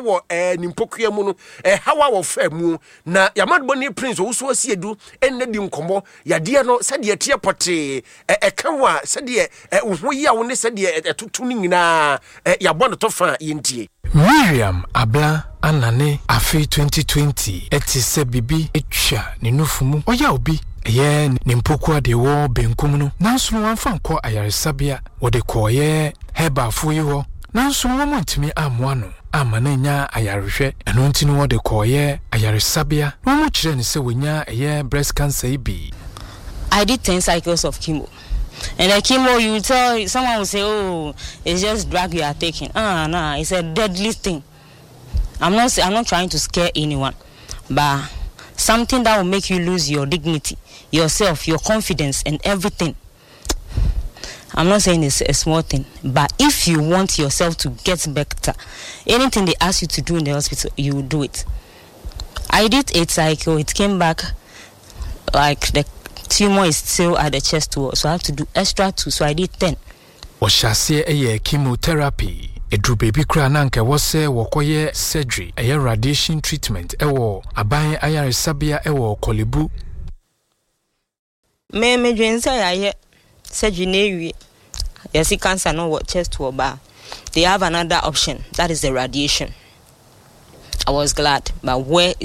wɔ ne mpokua mu no, ɛhaw a wɔfaa mu. Na yɛamadebɔne Prince Owusu Asiedu ɛnnɛ di nkɔmmɔ yadeɛ no sɛdeɛ ɛteɛ pɔtee, ɛka wo a, sɛdeɛ wo ho yɛ wo ne sɛdeɛ ɛtoto no nyinaa, yɛabɔ no tɔfa a yɛntie. Miriam Abla anane afe 2020 te sɛ biribi atwa ne nufu mu. Ɔyaw bi yɛ ne mpokua deɛ ɛwɔ benkum no, nanso no wamfa ankɔ ayaresabea. Wɔde kɔeɛ herbalfoɔ yi hɔ, nanso no wɔantumi ammoa no amma no annya ayarehwɛ. Ɛno nti no wɔde kɔeɛ ayaresabea na wɔkyerɛɛ no sɛ wanya ɛyɛ breast cancer yi bi. I did 10 cycles of chemo. And the chemo, you tell someone will say, "Oh, it's just drug you are taking." Ah, no, it's a deadly thing. I'm not trying to scare anyone, but something that will make you lose your dignity, yourself, your confidence, and everything. I'm not saying it's a small thing, but if you want yourself to get better, anything they ask you to do in the hospital, you will do it. I did eight cycle. It came back like the tumor is still at the chest wall, so I have to do extra two. So I did 10. Wɔhyɛ aseɛ yɛ chemotherapy. Ɛduru baabi koraa na anka ɛwɔ sɛ wɔkɔyɛ surgery, ɛyɛ radiation treatment ɛwɔ aban ayaresabea ɛwɔ Korle Bu. Me medwen sɛ yɛayɛ surgery na ewie, yɛsi cancer no wɔ chest wɔ ba, they have another option, that is the radiation. I was glad, but where is